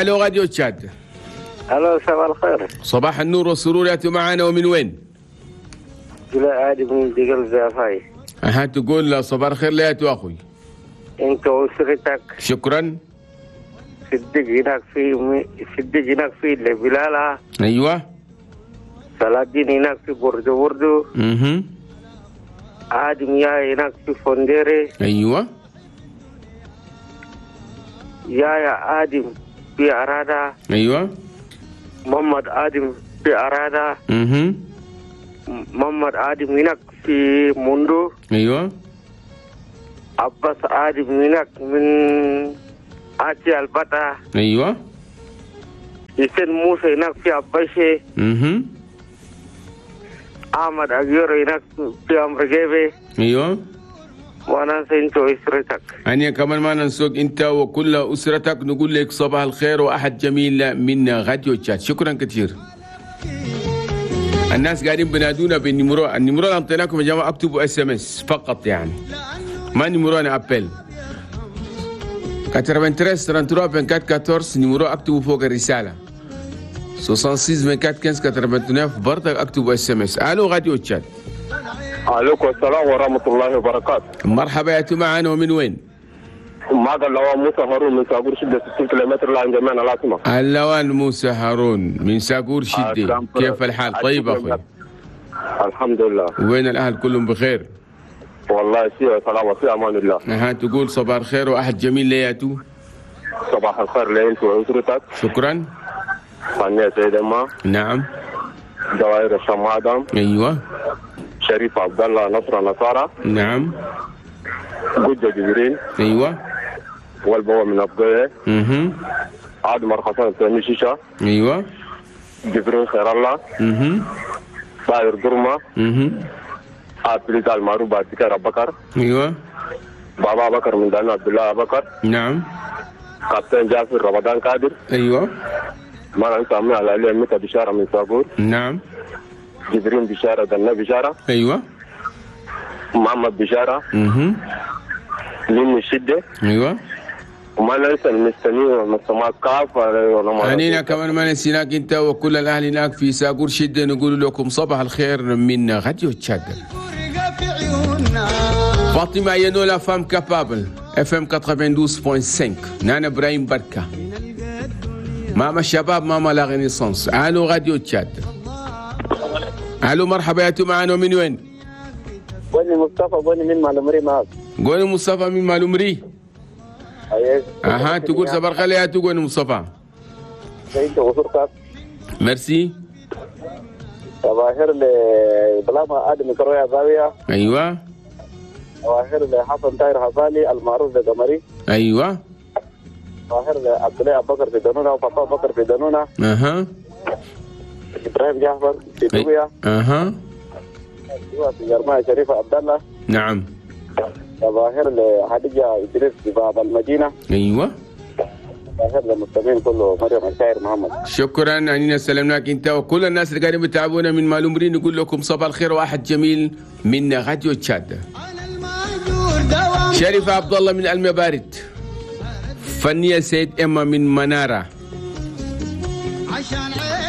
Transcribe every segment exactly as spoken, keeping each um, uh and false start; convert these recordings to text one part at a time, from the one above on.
الو راديو تشاد. الو صباح الخير. صباح النور والسرور، ياتوا معنا ومن وين؟ جلاء عادي من دقل زافاي. اها تقول صباح الخير لياتوا اخوي. انت واسرتك. شكرا. صدق هناك في صدق هناك في بلالة. ايوه. صلاح الدين هناك في بوردو بوردو. اها. آدم يا هناك في فونديري. ايوه. يا يا آدم في أرادا. ايوه. محمد آدم في أرادا. اها. محمد آدم هناك في موندو. ايوه. عباس آدم هناك من آتي البتا. ايوه. حسين موسى هناك في عباشي. اها. احمد أجير هناك في أمريكا. ايوه. وانا انت واسرتك. أنا كمان ما ننسوك انت وكل اسرتك، نقول لك صباح الخير واحد جميل من راديو تشاد. شكرا كثير. الناس قاعدين بنادونا بال numéro، ال numéro اللي اعطيناكم يا جماعة اكتبوا SMS فقط، يعني ما numéro انا appel. ثلاثة وثمانين ثلاثة وثلاثين أربعة وأربعين أربعة عشر numéro اكتبوا فوق الرسالة. ستة وستين أربعة وعشرين خمسة عشر تسعة وثمانين برضك اكتبوا SMS. الو راديو تشاد. عليكم السلام ورحمة الله وبركاته. مرحبا يا معنا ومن وين؟ معك اللواء موسى هارون من ساقور شدة ستين كيلومتر لعند جميعنا العاصمة. اللواء موسى هارون من ساقور شدة، كيف الحال؟ طيب أخوي؟ الحمد لله. وين الأهل كلهم بخير؟ والله سي سلام وفي أمان الله. أها تقول صباح الخير وأحد جميل لياتو. صباح الخير لأنت وأسرتك. شكرا. فنية سيدة ما. نعم. دوائر الشام آدم. أيوه. شريف عبد الله نصر نصارى. نعم. جدة جبرين. ايوه. والبوا من أبقية. اها. عادم مرخصان سامي شيشة. ايوه. جبرين خير الله. اها. باير درمة. اها. عبد المعروف بعد بكر بكر. ايوه. بابا بكر من دانا عبد الله بكر. نعم. كابتن جعفر رمضان قادر. ايوه. ما ننسى عمي على علي متى بشارة من ساقور. نعم. جبرين بشارة دنا بشارة. ايوه. محمد بشارة. اها. من الشدة. ايوه. وما ننسى المستمعين والمستمعات كافة. أنينا كمان ما نسيناك انت وكل الاهل هناك في ساقور شدة، نقول لكم صباح الخير من راديو تشاد. فاطمة ينو la femme capable FM تسعة وثمانين فاصلة خمسة. نانا ابراهيم بركة. ماما الشباب ماما la renaissance. الو راديو تشاد. الو مرحبا يا معنا من وين؟ بني مصطفى بني من معلومري معك. قولي مصطفى من معلومري. ايوه. اها تقول صباح الخير يا تقول مصطفى. انت وصرتك. ميرسي. صباح الخير لبلاما ادم كرويا زاوية. ايوه. صباح الخير لحسن طاهر حزالي المعروف بقمري. ايوه. صباح الخير لعبد الله ابو بكر في دنونه وفاطمة بكر في دنونه. اها. ابراهيم جعفر في دويا. اها. في جرمايا شريفه عبد الله. نعم. صباح لحديجة إدريس في باب المدينة. أيوة. صباح للمستمعين كله مريم الشاعر محمد. شكرا أننا سلمناك أنت وكل الناس اللي قاعدين بتعبونا من معلومرين، نقول لكم صباح الخير وأحد جميل من راديو تشاد. شريفة عبد الله من المبارد. فنية سيد إما من منارة.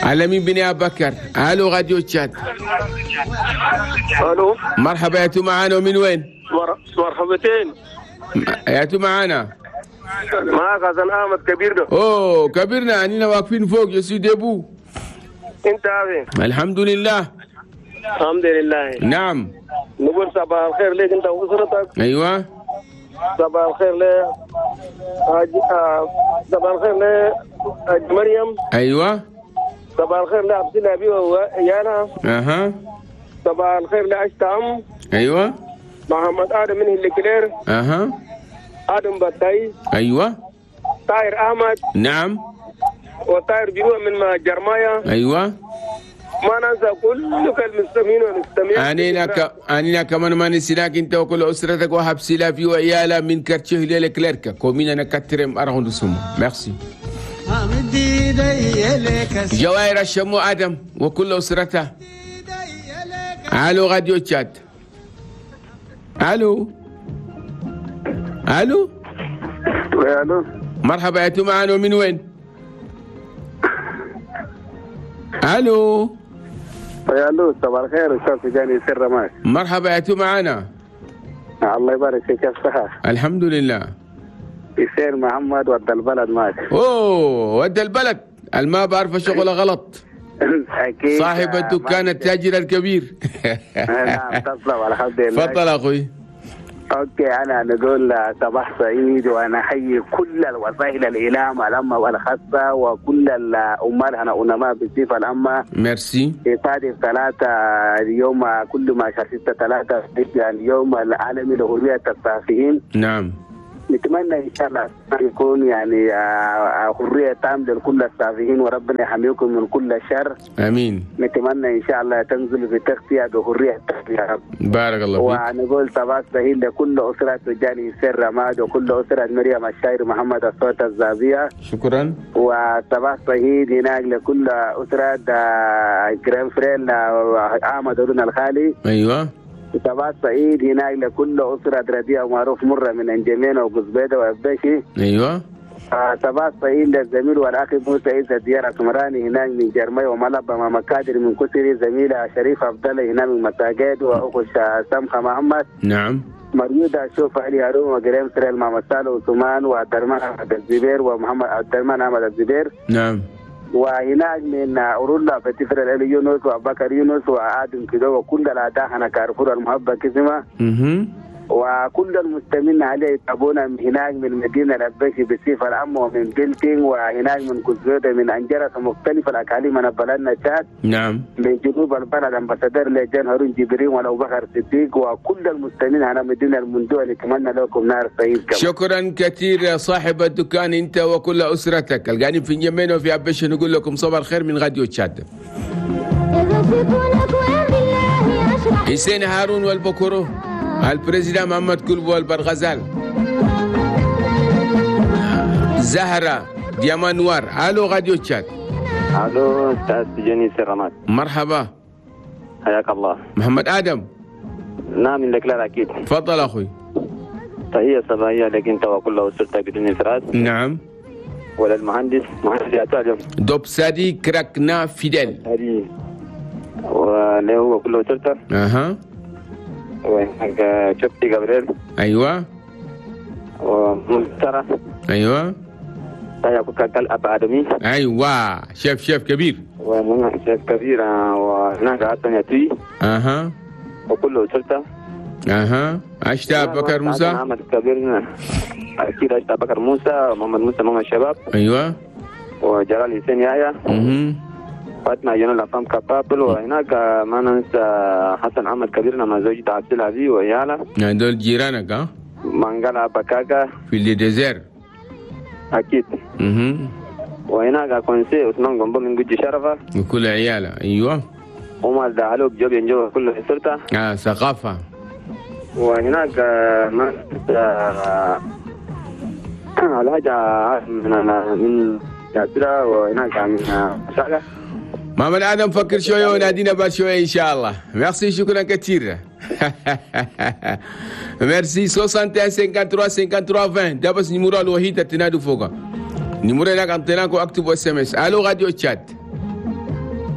علمين بن أبو بكر. ألو راديو تشاد. ألو. مرحبا يا معانا ومن وين؟ مرحبتين. يا معانا. معاك حسن احمد كبير ده. اوه كبيرنا، اننا واقفين فوق je suis debout. انت عافي؟ الحمد لله. الحمد لله. نعم. نقول صباح الخير لك انت واسرتك. ايوه. صباح الخير ل صباح الخير ل مريم. ايوه. صباح الخير لعبد الله ابي ويانا. اها. صباح الخير لاشتام. ايوه. محمد ادم من الكلير. اها. ادم بطاي. ايوه. طاهر احمد. نعم. وطاهر بيروح من جرمايا. ايوه. ما ننسى كل المستمعين والمستمعين. انينا ك... انينا كمان ما نسيناك انت وكل اسرتك وهب سلافي وعيالا من quartier لكليركا commune quatrième arrondissement. Merci. جواهر الشمو ادم وكل اسرته. الو راديو تشاد. الو الو الو. مرحبا يا معنا ومن وين؟ الو. يا الو، صباح الخير استاذ تجاني سر معك. مرحبا، يا معنا. الله يبارك فيك، كيف الصحة؟ الحمد لله. حسين محمد ود البلد معك. اوه ود البلد، الما بعرف شغله غلط. اكيد صاحب الدكان التاجر الكبير. نعم تسلم، الحمد لله. تفضل اخوي. okay، انا نقول صباح سعيد، وانا احيي كل الوسائل الاعلام العامة والخاصة وكل العمال هنا علماء بالصفة العامة. ميرسي. يصادف ثلاثة اليوم كل ما شهر ستة ثلاثة يعني اليوم العالمي لحرية الصحفيين. نعم. نتمنى ان شاء الله يكون يعني حرية تامة لكل الصحفيين، وربنا يحميكم من كل شر. امين. نتمنى ان شاء الله تنزل في تغطيه بحرية يا رب. بارك الله فيك. ونقول صباح سهيل لكل اسره تجاني سر رماد وكل اسره مريم الشاعر محمد الصوت الزابيه. شكرا. وصباح سعيد هناك لكل اسره grand frère احمد هارون الخالي. ايوه. صباح سعيد هناك لكل أسرة رديئة ومعروف مرة من أنجمين وقزبيدة وأبشي. أيوة. صباح سعيد للزميل والأخ موسى عيسى ديار سمراني هناك من جرمي وملبى ماما كادر من كسري، زميلة شريف عبد الله هناك من مساجد، وأخو سمخة محمد. نعم. مريودة شوف علي هارون وجريم سريل ماما سالو وثمان وعبد الرحمن أحمد الزبير ومحمد عبد الرحمن أحمد الزبير. نعم. وهناك من أورولا فتفر الألي يونس وأبكر يونس وآدم كده وكل الأعداء هنا كارفور المحبة كسمة. وكل المستمعين عليه يتابعونا من هناك من مدينة الأبشي بصفة العامة ومن بلتين، وهناك من كزودة من أنجرس ومختلف الأقاليم من بلدنا تشاد. نعم. من جنوب البلد أمباسادور لجان هارون جبرين ولو بكر صديق وكل المستمعين على مدينة المندوع، نتمنى لكم نهار سعيد. شكرا كثير يا صاحب الدكان أنت وكل أسرتك القاعدين في اليمين وفي أبشي، نقول لكم صباح الخير من راديو تشاد. حسين هارون والبكرو، ال président محمد كلبو والبرغزال، زهرة diamant noir. الو راديو تشاد. الو استاذ تجاني سرمات. مرحبا، حياك الله. محمد ادم. نعم من لك اكيد. تفضل اخوي. تحية صباحية لك انت وكل اسرتك بدون افراد. نعم. ولا المهندس مهندس يا دوب سادي كراكنا فيدل. وله وكل اسرته. اها. وهناك شفتي جابريل. ايوه. ومنترة. ايوه. كال ادمي. ايوه chef chef كبير. وهناك شيف كبير، وهناك حسن يتوي. اها. وكل اسرته. اها. اشتا بكر موسى. محمد كبير اكيد، اشتا بكر موسى، محمد موسى ماما الشباب. ايوه. وجلال حسين يحيى. اها. فاطمة جنون la femme capable. وهناك ما ننسى حسن احمد كبيرنا مع زوجته عبد العزيز وعياله. يعني دول جيرانك ها؟ منقلة بكاكا في ال désert اكيد. اها. وهناك كونسي عثمان قنبو من جوجي شرفه وكل عياله. ايوه. عمر دعلوب جوب ينجو كل اسرته. اه ثقافة. وهناك ما ننسى الحاج من من ياسرة، وهناك من شعله. محمد ادم فكر شوية ونادينا بعد شوية ان شاء الله. ميرسي، شكرا كثير. ميرسي. واحد وستين ثلاثة وخمسين ثلاثة وعشرين عشرين ده بس numéro الوحيد تنادوا فوقه. numéro هناك انتناكو اكتبوا SMS. الو راديو تشاد.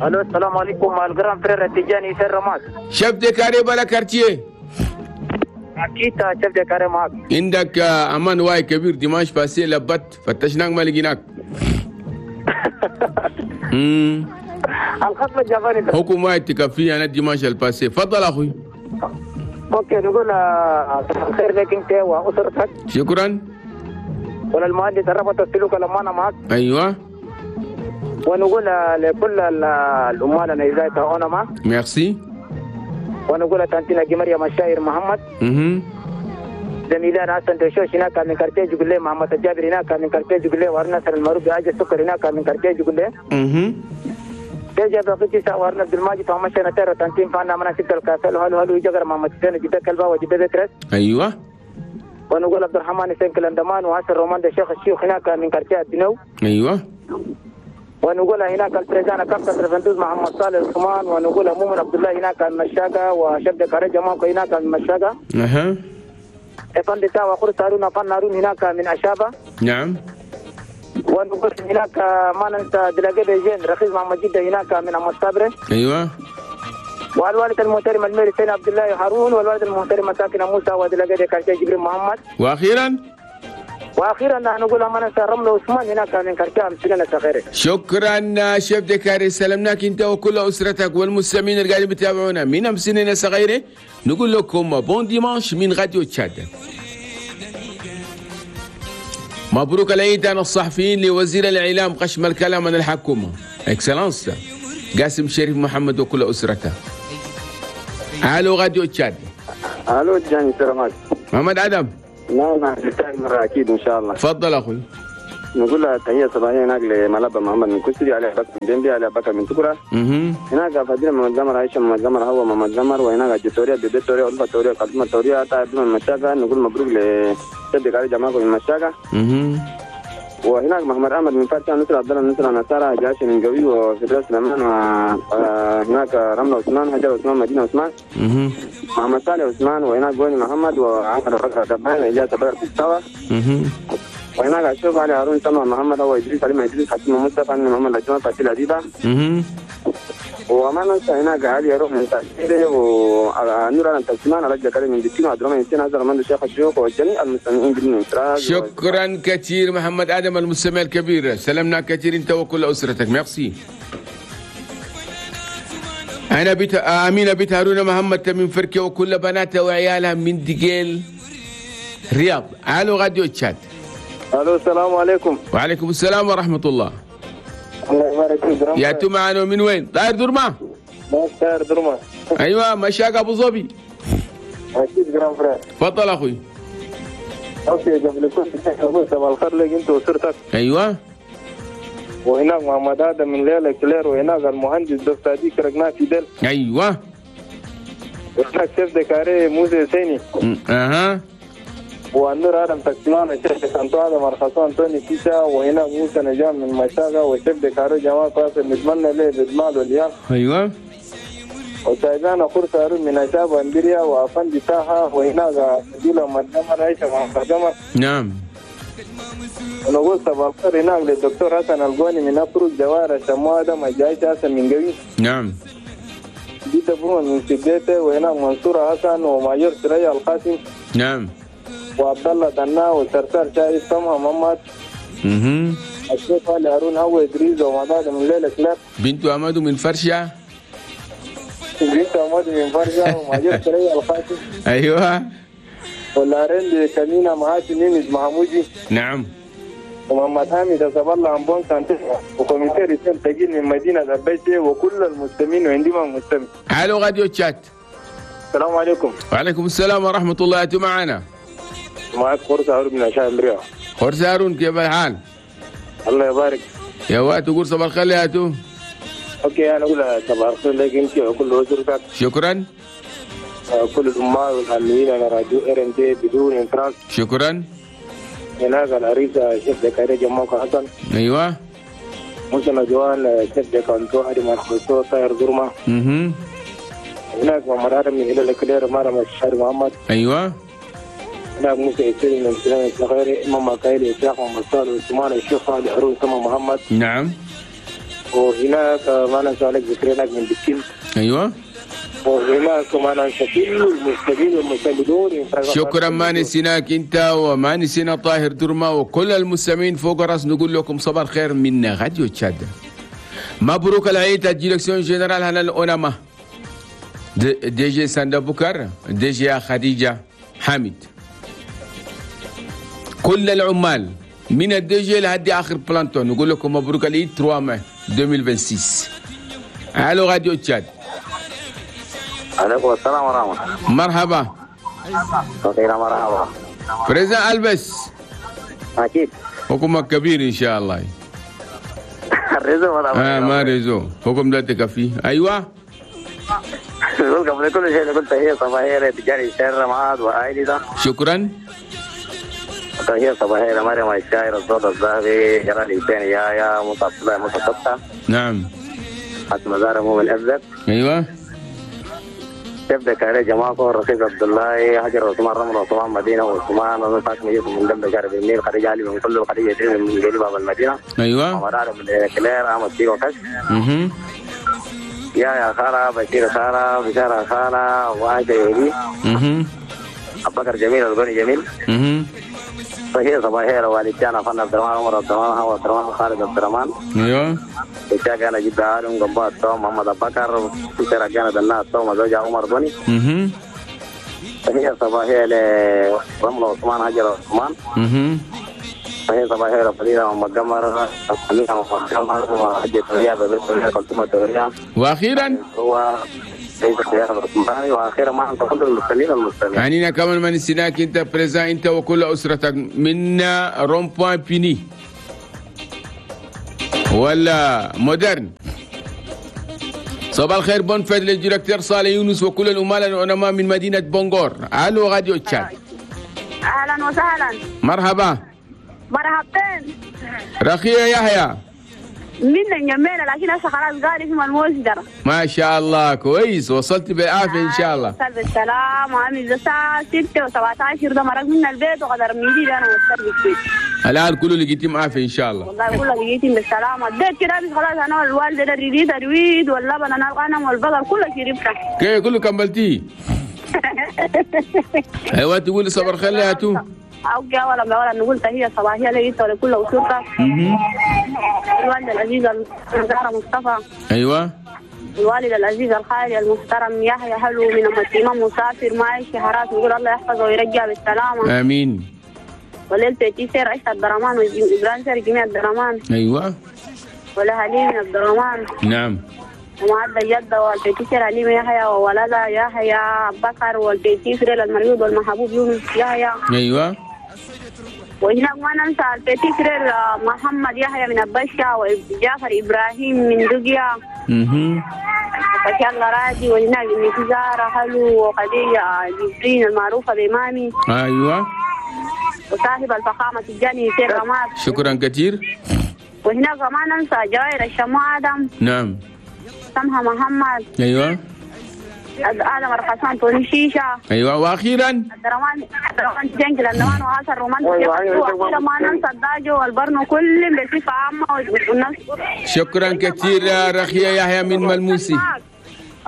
الو السلام عليكم، مع ال grand frère التجاني سر رماد. chef de carré بلا quartier. اكيد chef de carré معك. عندك امان واي كبير dimanche passé لبت فتشناك ما لقيناك. امم الخصم الجافاني حكم واحد تكفي انا dimanche ال passé. تفضل اخوي. okay، نقول صباح الخير لك انت واسرتك. شكرا. وللمهندس ربط السلوك الامانة معك. ايوه. ونقول لكل العمال انا ازاي تعاونوا معك. ميرسي. ونقول تانتينا مريم الشاعر محمد. اها. زميلنا حسن دشوش هناك من quartier جقلي، محمد الجابر هناك من quartier جقلي، ورنصر المعروف بعاج السكر هناك من quartier جقلي. اها. تيجي بقيتي سوارنا عبد الماجد ومشينا ترى تنتين فانا من ستة الكاسل هلو هلو يجر محمد حسين جدا كلبا وجدا بترس. ايوه. ونقول عبد الرحمن حسين كلندمان وعسر رومان ده شيخ الشيوخ هناك من quartier الدنو. ايوه. ونقول هناك ال président كابتن رفندوز محمد صالح عثمان، ونقول مؤمن عبد الله هناك المشاقه، وشبد كارجا ماكو هناك المشاقه. اها. افندي تاوا خرس هارون فن هارون هناك من اشابه. نعم. ونقول هناك ما ننسى دلاجة جين رخيص محمد جدة هناك من أم الصبر. ايوه. والوالد المحترم الميري سيد عبد الله هارون، والوالد المحترم ساكن موسى، ودلاجة كارتي جبريل محمد. واخيرا واخيرا نقول ما ننسى رمل عثمان هناك من كركام سنة صغيرة. شكرا chef de carré، سلمناك انت وكل اسرتك والمستمعين اللي قاعدين بيتابعونا من امسنين صغيرة. نقول لكم bon dimanche من راديو تشاد. مبروك العيد عن الصحفيين لوزير الاعلام قشم الكلام عن الحكومة excellence قاسم شريف محمد وكل اسرته. الو راديو تشاد. الو جاني سلامات. محمد ادم. نعم مرة أكيد إن شاء الله. تفضل أخوي. نقول لها تحية صباحية هناك لملابة محمد من كسري، علي بكر من ديمبي، علي بكر من تكرة. هناك فدينا محمد قمر، عائشة محمد قمر، هو محمد قمر، وهناك جتوريا بيبي توريا، ألفا توريا، قدمة توريا، طيب من مشاكة. نقول مبروك لسيدك علي جماعة من مشاكة. وهناك محمد أحمد من فرشة، نصر عبد الله، نصر نصارى، جاشي من قوي، وفي سليمان، وهناك رملة عثمان، هجر عثمان، مدينة عثمان، محمد صالح عثمان، وهناك بوني محمد، وعمر بكر دبان، إجازة بكر في السوا. وهناك أشوف علي هارون سمع محمد، هو إدريس علي إدريس، حكيم مصطفى، محمد الجمال، فاتي العديدة. وما ننسى هناك علي يروح من تأثيره، ونور على تسمان، على جكري من دكين، وعبد الرحمن حسين، هذا رمضان الشيخ الشيوخ، وجميع المستمعين بدون انفراد. شكرا كثير محمد ادم المستمع الكبير، سلمنا كثير انت وكل اسرتك. ميرسي. انا بيت امينه بيت هارون محمد من فركه وكل بناتها وعيالها من دقيل رياض. الو راديو تشاد. الو السلام عليكم. وعليكم السلام ورحمة الله. الله يبارك فيك. يا تو معنا من وين؟ طاير درما؟ طاير درما. ايوه مشاق ابو ظبي. اكيد grand frère. تفضل اخوي. okay قبل كل شيء صباح الخير لك انت واسرتك. ايوه. وهناك محمد ادم من ليلة كلير، وهناك المهندس دكتور ديك رقنا في دل. ايوه. وهناك chef de carré موسى سيني. اها. والنور ادم تكسمان، وشيف سانتو ادم ارخصان انتوني كيسا، وهنا موسى نجام من مشاغه، و chef de carré جمال قاسم، نتمنى له بالمال والياس. ايوه. وسايبانا خرس هارون من اشاب اندريا، وافندي ساحة، وهناك ديلا مدمر، عيشه مدمر. نعم. ونقول صباح الخير هناك للدكتور حسن القوني من افرج، جواره شمو ادم، الجايش حسن من قوي. نعم. جيت بروما من سديته، وهناك منصور حسن، وماجور سريع القاسم. نعم. وعبد الله دنا، وسرسار شاي سمع محمد. اها. الشيخ علي هارون، هو ادريس، ومداد من ليلة كلاب. بنت عماد من فرشه. بنت عماد من فرشه، وماجور سريع القاسم. ايوه. والارين كمينة معاشي نيمز محمودي. نعم. ومحمد حامد أسب الله عن سانتي، وكوميسير اسلام تجيل من مدينة البيتي، وكل المستمعين وعندما مستمع. الو راديو تشات. السلام عليكم. وعليكم السلام ورحمة الله. أنتم معنا؟ معك خرس هارون من عشاء امريكا. خرس هارون كيف الحال؟ الله يبارك. يا وقت تقول صباح الخير يا تو. okay انا اقول صباح الخير لك انت وكل اسرتك. شكرا. كل الامة والعاملين على راديو RMD بدون انفراج. شكرا. هناك العريسة chef de carré جماعة حسن. ايوه. موسى نجوان chef de canton ادي مرخصو طاير درما. اها. هناك محمد ادم من هلال كلير مارم الشهر محمد. ايوه. هناك موسى يسير من سلام الصغير، امام مكايل اسحاق محمد صالح عثمان الشيخ علي هارون سما محمد. نعم. وهناك ما ننسى عليك ذكريناك من بكين. ايوه. وهناك ما ننسى كل المستمعين والمستمعون. شكرا، ما نسيناك انت وما نسينا طاهر درما وكل المستمعين فوق راس. نقول لكم صباح الخير من راديو تشاد. مبروك العيد ال direction générale هنا الاوناما، DG ساندا بكر، DG خديجة حامد، كل العمال من ال DG لحد اخر planton. نقول لكم مبروك العيد ثلاثة ماي ألفين وستة وعشرين. الو راديو تشاد. عليكم السلام ورحمة الله. مرحبا. خير مرحبا. président البس. اكيد. حكمك كبير ان شاء الله. ال réseau ولا اه ما réseau حكم لا تكفي. ايوه. قبل كل شيء قلت هي صباحية لتجاري الشهر معاذ وعائلته. شكرا. تحية صباحية لمريم الشاعر الصوت الذهبي جلال حسين يا موسى عبد الله موسى ستة. نعم. حسن مزار مو الأبزق. ايوه. تبدا كاري جماعة رخيص عبد الله حجر عثمان رمل عثمان مدينة وعثمان فاطمة يوسف من دم شارب النيل خديجة علي من كل خديجة من جليل باب المدينة. ايوه. عمر من كلير احمد سيرو كش. اها. يا يا خالة بشير خالة بشارة خالة وعائشة يهدي. اها. أبو بكر جميل الغني جميل. اها. صحيح صباحية والدتنا فن عبد الرحمن عمر عبد الرحمن هو عبد الرحمن خالد عبد الرحمن. ايوه. إشاك أنا جدا عالم قنبات توم محمد أبو بكر سيرة كانت الناس توم زوجها عمر بني. اها. صحيح صباحية لرمل عثمان هجر عثمان. اها. صحيح صباحية لفضيلة محمد قمر أمينة محمد قمر وحجة توريا ببيت كلثوم توريا. وأخيرا هو واخيرا ما انت كل المستمعين المستمعين. يعني كمان ما نسيناك انت président انت وكل اسرتك من rond-point بيني ولا مودرن. صباح الخير bonne fête لل directeur صالح يونس وكل الأمال العلماء من مدينة بونغور. الو راديو تشاد. اهلا وسهلا. مرحبا. مرحبتين. رخية يحيى. من جميلة لكن هسه خلاص قاري في الموزدر. ما شاء الله كويس وصلت بالعافية إن شاء الله. وصلت بالسلام وعامل الساعة ستة وسبعة عشر ده مرق من البيت وقدر ميدي أنا وصلت البيت. الآن كله لقيتهم عافية إن شاء الله. والله كله لقيتهم بالسلامة. البيت كده بس خلاص أنا الوالدة ده الريد الريد واللبن أنا الغنم والبقر كله شربته. كيف كله كملتيه؟ أيوة تقولي صبر خير يا تو. أوكي أولا بأولا نقول تحية صباحية لك ولكل أسرتك. الوالد العزيز الزهرة مصطفى. أيوة. الوالد العزيز الخالي المحترم يحيى حلو من الإمام مسافر معي شهرات نقول الله يحفظه ويرجع بالسلامة. آمين. وليلة تيسير عيسى عبد الرحمن وإبراهيم سير جميع عبد الرحمن. أيوة. ولا هليم عبد الرحمن. نعم. ومعدة جدة والبيتيسير عليم يحيى وولدها يحيى بكر والبيتيسير المريض والمحبوب يونس يحيى. أيوة. وهناك ما ننسى البيتيسير محمد يحيى من البشة وجعفر إبراهيم من دقيا. اها. وفشال الله راجي وهناك زارة حلو وخديجة جبرين المعروفة بإمامي. أيوة. وصاحب الفخامة تجاني سير رماد. شكرا كثير. وهناك ما ننسى جوائر الشمو آدم. نعم. سمها محمد. ايوه. آدم الرخصان توني شيشة. ايوه واخيرا الدروان الدروان جنجل الدروان وآثر رومان. واخيرا ما ننسى الداجو والبرنو كل بصفة عامة والناس. شكرا كثير رخية يحيى من ملموسي.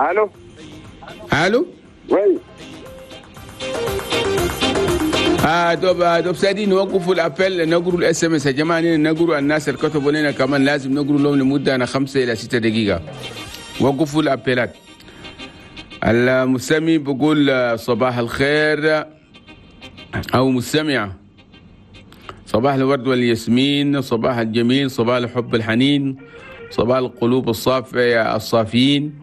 الو الو oui. آه دوب دوب سادي نوقفوا ال appel نقروا ال SMS يا جماعة، نقروا الناس اللي كتبوا لنا كمان لازم نقروا لهم لمدة انا خمسة الى ستة دقيقة. وقفوا ال appel ات. المستمع بقول صباح الخير او مستمعه، صباح الورد والياسمين، صباح الجميل، صباح الحب الحنين، صباح القلوب الصافية الصافيين،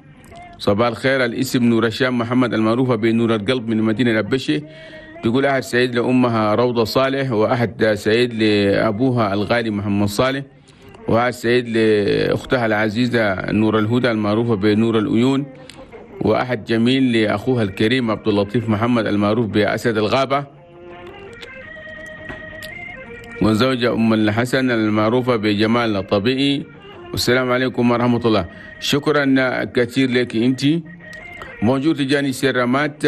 صباح الخير. الاسم نور الشام محمد المعروفة بنور القلب من مدينة الأبشة، تقول أحد سعيد لأمها روضة صالح، وأحد سعيد لأبوها الغالي محمد صالح، وأحد سعيد لأختها العزيزة نور الهدى المعروفة بنور الأيون، وأحد جميل لأخوها الكريم عبد اللطيف محمد المعروف بأسد الغابة، وزوجة أم الحسن المعروفة بجمال الطبيعي. والسلام عليكم ورحمة الله. شكرا كثير لك أنت. bonjour تجاني سيرامات،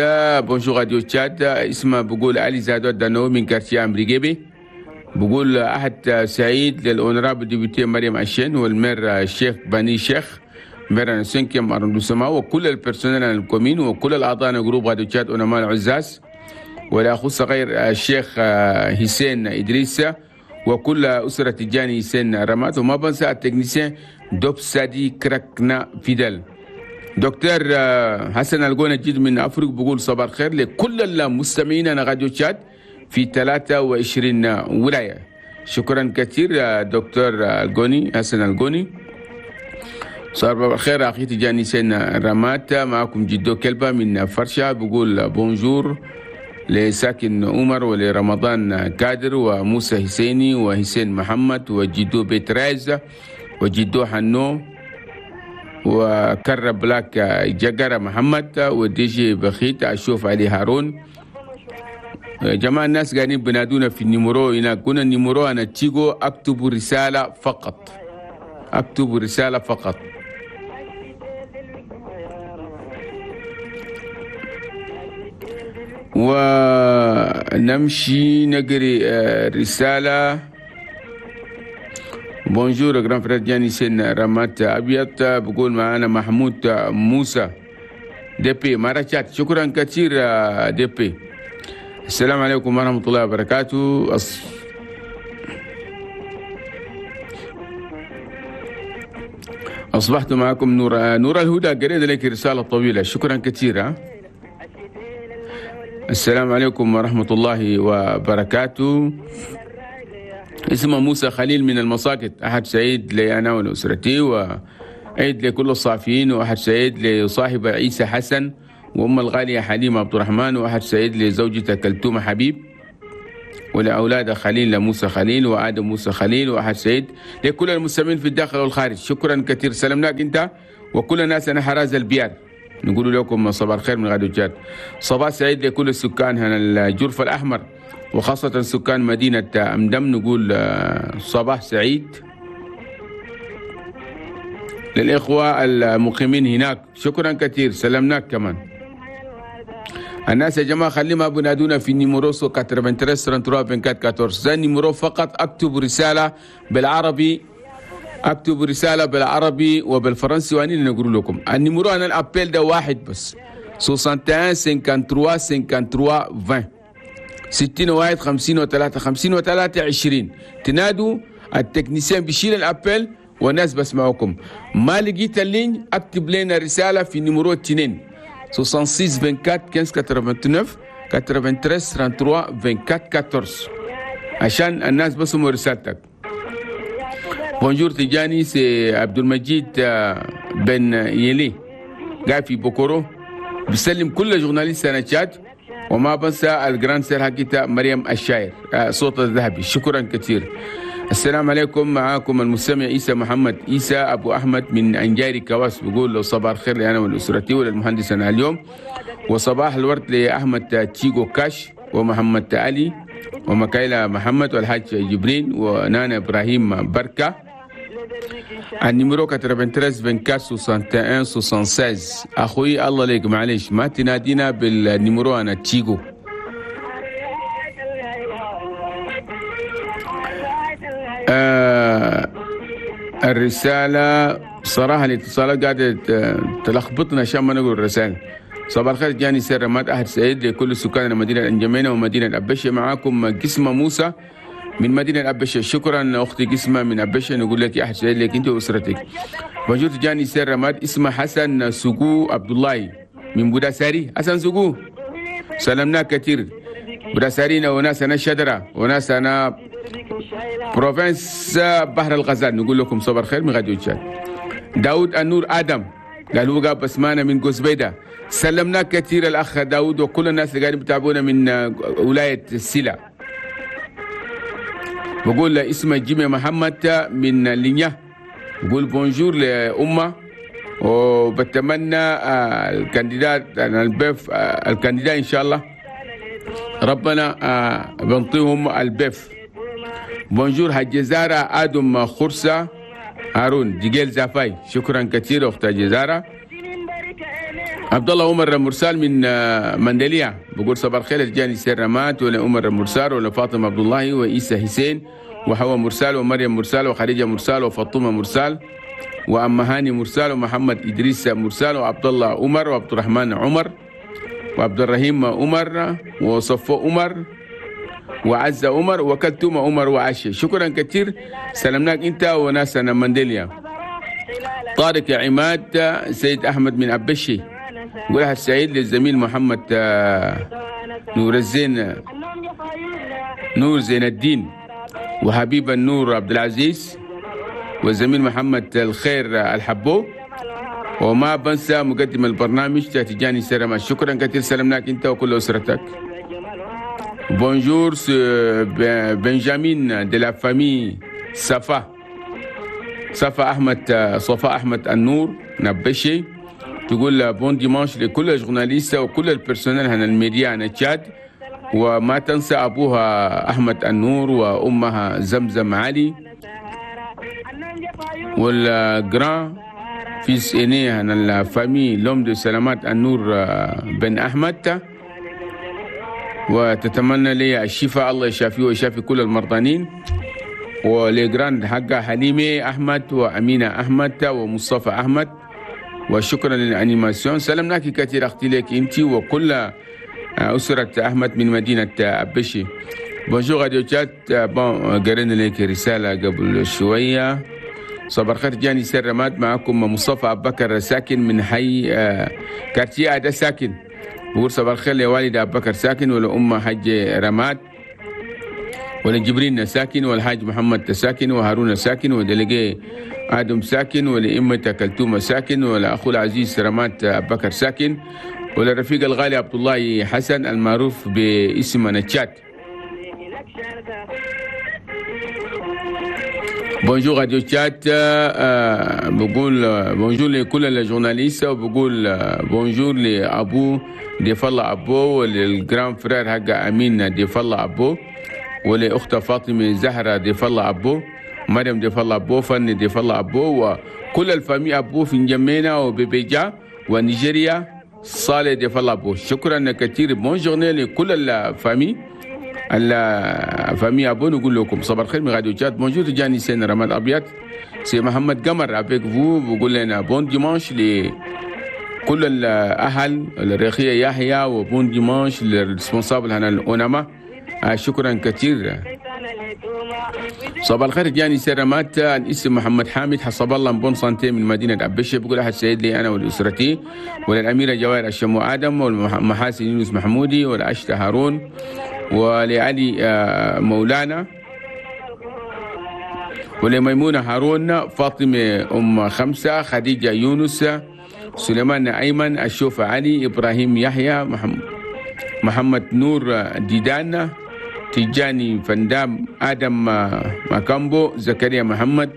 bonjour راديو تشاد. اسمه بقول علي زادو دانو من quartier أمريكي. بقول أحد سعيد لل honorable députée مريم أشين وال maire الشيخ بني شيخ maire cinquième arrondissement وكل ال personnel ال commune وكل الأعضاء groupe راديو تشاد ونمال عزاز، والأخو الصغير الشيخ حسين إدريس وكل أسرة تجاني حسين رمات، وما بنسى ال technicien دوب سادي كراكنا فيدل. دكتور حسن الجونة جد من أفريق بقول صباح الخير لكل المستمعين أنا راديو تشاد في ثلاثة وعشرين ولاية. شكرا كثير دكتور الجوني حسن الجوني. صباح الخير أخي تجاني سين رمات، معكم جدو كلبة من فرشة. بقول bonjour لساكن عمر ولرمضان كادر وموسى حسيني وحسين محمد وجدو بيتراز وجدو حنو وكر بلاك جقرة محمد وديجي بخيت أشوف علي هارون. يا جماعة الناس قاعدين بنادونا في ال numéro هنا، قلنا ال numéro أنا تيجو أكتب رسالة فقط، أكتب رسالة فقط. ونمشي نقري رسالة. Bonjour grand frère جاني سن رمات أبيض، بقول معنا محمود موسى depuis مارشات. شكرا كثير depuis. السلام عليكم ورحمة الله وبركاته. أص... أصبحت معكم نور نور الهدى. قريت لك رسالة طويلة، شكرا كثيرا. السلام عليكم ورحمة الله وبركاته. اسمه موسى خليل من المساقط. أحد سعيد لي أنا ولأسرتي، وعيد لكل الصافيين، وأحد سعيد لصاحب عيسى حسن وأم الغالية حليمة عبد الرحمن، وأحد سعيد لزوجته كلثوم حبيب، ولأولاد خليل موسى خليل وآدم موسى خليل، وأحد سعيد لكل المستمعين في الداخل والخارج. شكرا كثير، سلمناك أنت وكل الناس. أنا حراز البيار، نقول لكم صباح الخير من غادو جاد. صباح سعيد لكل السكان هنا الجرف الأحمر، وخاصة سكان مدينة أمدم. نقول صباح سعيد للإخوة المقيمين هناك. شكرا كثير، سلمناك كمان. الناس يا جماعة خلي ما بنادونا في numéro ثلاثة وثمانين ثلاثة وثلاثين أربعة وأربعين. ده numéro فقط. اكتب رسالة بالعربي، اكتب رسالة بالعربي وبالفرنسي وأنا نقول لكم ال numéro. أنا ال appel ده واحد بس، واحد وستين ثلاثة وخمسين ثلاثة وخمسين عشرين، ستين واحد خمسين وثلاثة خمسين وثلاثة عشرين. تنادوا ال technicien بيشيل ال appel والناس بسمعوكم. ما لقيت ال ligne اكتب لنا رسالة في numéro اثنين ستة وستين أربعة وعشرين خمسة عشر ثمانية وثلاثين ثلاثة وثلاثين أربعة وأربعين أربعة عشر عشان الناس بسمعوا رسالتك. Bonjour تجاني، c'est عبد المجيد بن يلي قاعد في بوكورو، بسلم كل journalistes أنا تشاد، وما بنسى ال grande sœur حقيتا مريم الشاعر صوت الذهبي. شكرا كثير. السلام عليكم، معاكم المستمع عيسى محمد عيسى أبو أحمد من أنجاري كواس. بقول له صباح الخير لي أنا ولأسرتي وللمهندس أنا اليوم، وصباح الورد لأحمد تشيغو كاش ومحمد علي ومكايلة محمد والحاج جبرين ونانا إبراهيم بركة. ال numéro ثلاثة وثمانين أربعة وعشرين ستة وواحد ستة وستين. أخوي الله ليك، معلش ما تنادينا بال numéro أنا تشيغو. آه الرسالة صراحة الاتصالات قاعدة تلخبطنا عشان ما نقول الرسالة. صباح الخير جاني سر رماد، أحد سعيد لكل سكان المدينة الأنجمينة ومدينة الأبشة. معاكم قسمة موسى من مدينة الأبشة. شكرا أختي قسمة من أبشة، نقول لك أحد سعيد لك أنت وأسرتك. موجود جاني سر رماد، اسمه حسن سوقو عبد الله من بوداساري. حسن سوقو سلمنا كثير، بوداسارينا وناس أنا شدرة وناس أنا province بحر الغزال. نقول لكم صباح الخير من غاديو تشاد. داود النور آدم قال هو قاب بسمانة من قوسبيدة. سلمنا كثير الأخ داود وكل الناس اللي قاعدين بتابعونا من ولاية السلا. بقول اسمه جيمي محمد من لينيا، بقول bonjour لأمة، وبتمنى ال candidat ال B E F ال candidat إن شاء الله ربنا بنطيهم ال B E F. Bonjour حجزارة آدم خرسة هارون جيجيل زافاي. شكرا كثير أخت جزارة. عبد الله عمر مرسال من مندلية بقول صباح الخير جاني سير رمات ولا عمر مرسال ولا فاطمة عبد الله وإيسى حسين وحوا مرسال ومريم مرسال وخديجة مرسال وفاطمة مرسال وأم هاني مرسال ومحمد إدريس مرسال وعبد الله عمر وعبد الرحمن عمر وعبد الرحيم عمر وصفو عمر وعزة عمر وكلثوم عمر وعشي. شكرا كثير، سلمناك انت وناسنا مندليا. طارق عماد سيد احمد من ابشي، قولها السعيد للزميل محمد نور الزين نور زين الدين وحبيب النور عبد العزيز والزميل محمد الخير الحبو، وما بنسى مقدم البرنامج تجاني سلامة. شكرا كثير، سلمناك انت وكل اسرتك. Bonjour, c'est Benjamin de la famille Safa. Safa Ahmed, Safa Ahmed An-Nour Nabéché. تقول bon dimanche لكل ال journalistes وكل ال personnel هنا الميديا هنا تشاد، وما تنسى أبوها أحمد النور وأمها زمزم علي وال grand fils aîné هنا ال famille l'homme de سلامات النور بن أحمد. وتتمنى لي الشفاء، الله يشافيه ويشافي كل المرضانين. و les grands حقها حليمة أحمد وأمينة أحمد ومصطفى أحمد، وشكرا لل animation. سلمناك كثير أختي لك أنت وكل أسرة أحمد من مدينة أبشي. Bonjour Radio Tchad. Bon قرينا لك رسالة قبل شوية. صباح الخير جاني سر رماد، معكم مصطفى أبو بكر ساكن من حي quartier أدا ساكن. بقول صباح الخير لوالد أبو بكر ساكن ولأم حج رماد ولجبرين ساكن والحاج محمد ساكن وهارون ساكن و délégué آدم ساكن ولإمة كلثوم ساكن ولأخو العزيز رماد أبو بكر ساكن وللرفيق الغالي عبد الله حسن المعروف باسم نتشات. Bonjour Radio Tchad, بقول bonjour لكل ال journalistes، وبقول bonjour لأبو ديف الله أبو ولل grand frère حق أمين ديف الله أبو ولأخت فاطمة زهرة ديف الله أبو، مريم ديف الله أبو، فني ديف الله أبو، وكل ال famille أبو في نجمينا وبيبيجا ونيجيريا صالح ديف الله أبو. شكرا كثير، bonne journée لكل ال famille ال famille أبو. نقول لكم صباح الخير من راديو تشاد. Bonjour جاني سين رماد أبيض، c'est محمد قمر avec vous. بقول لنا bon dimanche لكل الأهل الرخية يحيى، و bon dimanche لل responsable هنا الأونما. شكرا كثير. صباح الخير جاني سرمات، الاسم محمد حامد حسب الله bonne santé من مدينة أبشة. بقول أحد سيد لي أنا ولأسرتي وللأميرة جواهر الشمو آدم والمحاسن يونس محمودي والأشتى هارون ولعلي مولانا ولميمونة هارون، فاطمة أم خمسة، خديجة يونس، سليمان أيمن، الشوفة علي، إبراهيم يحيى، محمد نور ديدان، تجاني فندام، آدم ماكامبو، زكريا محمد،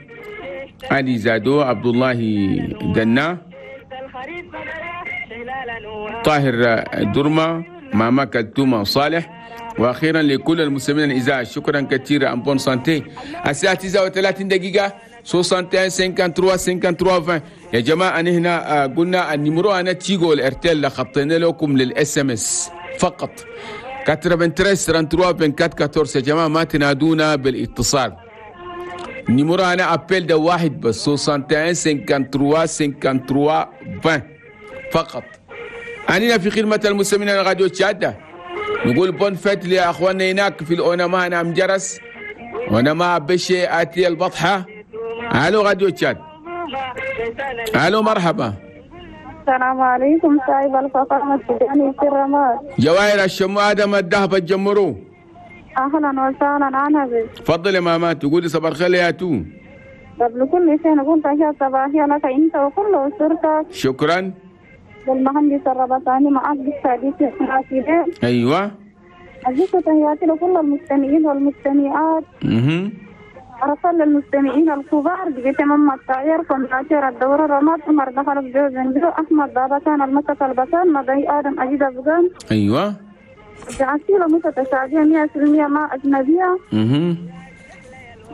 علي زادو، عبد الله دنا، طاهر درما، ماما كلثومة صالح. واخيرا لكل المستمعين الاذاعة شكرا كثيرا. En bonne santé. الساعة تسعة وثلاثين دقيقة واحد وستين ثلاثة وثلاثين ثلاثة وعشرين. يا جماعة انا هنا قلنا ال numéro انا تيجو الارتيل خطينا لكم لل SMS فقط ثلاثة وثمانين ثلاثة وثلاثين أربعة وأربعين أربعة عشر. يا جماعة ما تنادونا بالاتصال، ال numéro انا appel ده واحد بس واحد وستين ثلاثة وثلاثين ثلاثة وثلاثين عشرين فقط. أنا في خدمة المستمعين على راديو تشاد. نقول bonne fête لأخواننا هناك في الأونما نعم جرس ونما بشي آتي البطحة. ألو راديو تشاد. ألو مرحبا. السلام عليكم صاحب الفخامة تجاني في الرماد جواهر الشمو آدم الذهب الجمرو. أهلا وسهلا. أنا بك. تفضل يا ماما تقولي صباح الخير يا تو. قبل كل شيء نقول تحية صباحية لك أنت وكل أسرتك. شكرا. للمهندس الربطاني معك بالسادس الحاسبين. أيوة. عزيزة تحياتي لكل المستمعين والمستمعات. اها. أرسل للمستمعين الكبار بتمام التعيير فمناشير الدورة رماد عمر دخل بجوز أحمد بابتان المسك البسان مضي آدم أجيد أفغان. أيوة. جعسيلة متشابهة مئة في المئة مع أجنبية. اها.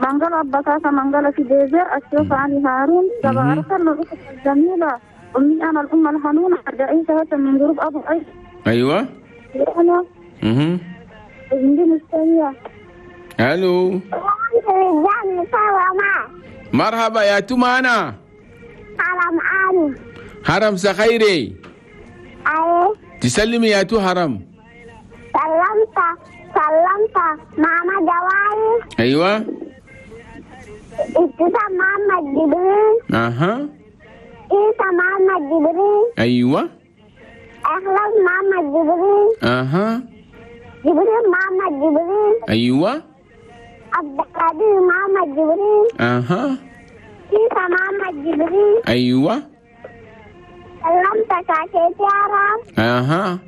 منقل أبكاكا منقل في ديزر الشيخ علي هارون. أرسل للأخت الجميلة أمي أنا الأم الحنونة عائشة من جروب أبو عيش. أيوة. أنا. اها. ألو. مرحبا يا تومانا. حرم آني. حرم سخيري. أيوة. تسلمي يا تو حرم. سلمت سلمت ماما جواري. أيوة. ابتسام محمد جبريل. أها. عيسى محمد جبريل. أيوة. أخلاص محمد جبريل. أها. جبريل محمد جبريل. أيوة. عبد القادر محمد جبريل. أها. عيسى محمد جبريل. أيوة. سلمت كاكيتي عرب. أها.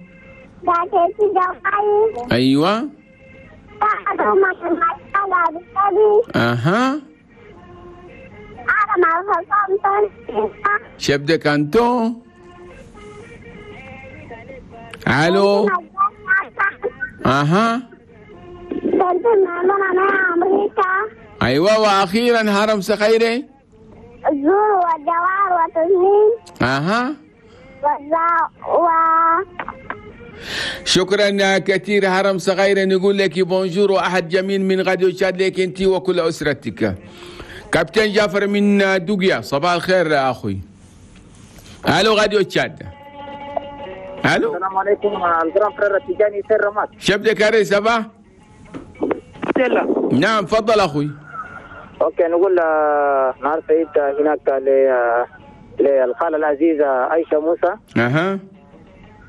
كاكيتي جواري. أيوة. أها. Chef de canton. ألو. أها. أيوة وأخيرا هرم سخيري. الزور والجوار وتسنيم. أها. و شكرا كثير هرم صغير، نقول لك bonjour واحد جميل من راديو تشاد لك انت وكل اسرتك. كابتن جعفر من دوغيا، صباح الخير يا اخوي. الو راديو تشاد. الو السلام عليكم ال grand frère التجاني سير رماد. chef de carré ça va؟ نعم تفضل اخوي. OK نقول نهار سعيد هناك للخاله العزيزة عائشة موسى. اها.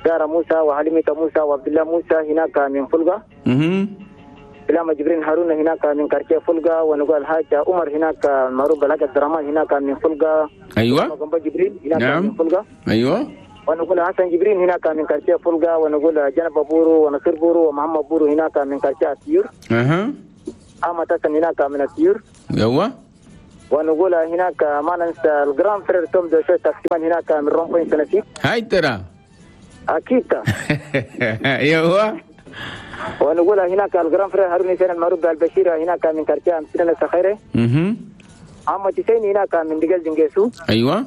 ساره موسى وحليمة موسى وعبد الله موسى هناك من فلقه. اها. سلامة جبرين هارون هناك من quartier فلقة، ونقول الحاج عمر هناك معروف بالحاج عبد الرحمن هناك من فلقة. ايوه. جبرين هناك نعم. من فلقة. ايوه. ونقول حسن جبرين هناك من quartier فلقة، ونقول جنب بورو ونصير بورو ومحمد بورو هناك من quartier السيور. اها. أحمد حسن هناك من السيور. ايوه. ونقول هناك ما ننسى ال grand frère توم دوشو taximan هناك من rond-point سنسي. هاي ترى. اكيد. ايوه. ونقول هناك ال grand frère هارون حسين المعروف بالبشير هناك من quartier امسنا السخيره. اها. عم حسين هناك من دقل دنجيسو. ايوه.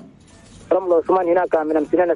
رمل عثمان هناك من امسنا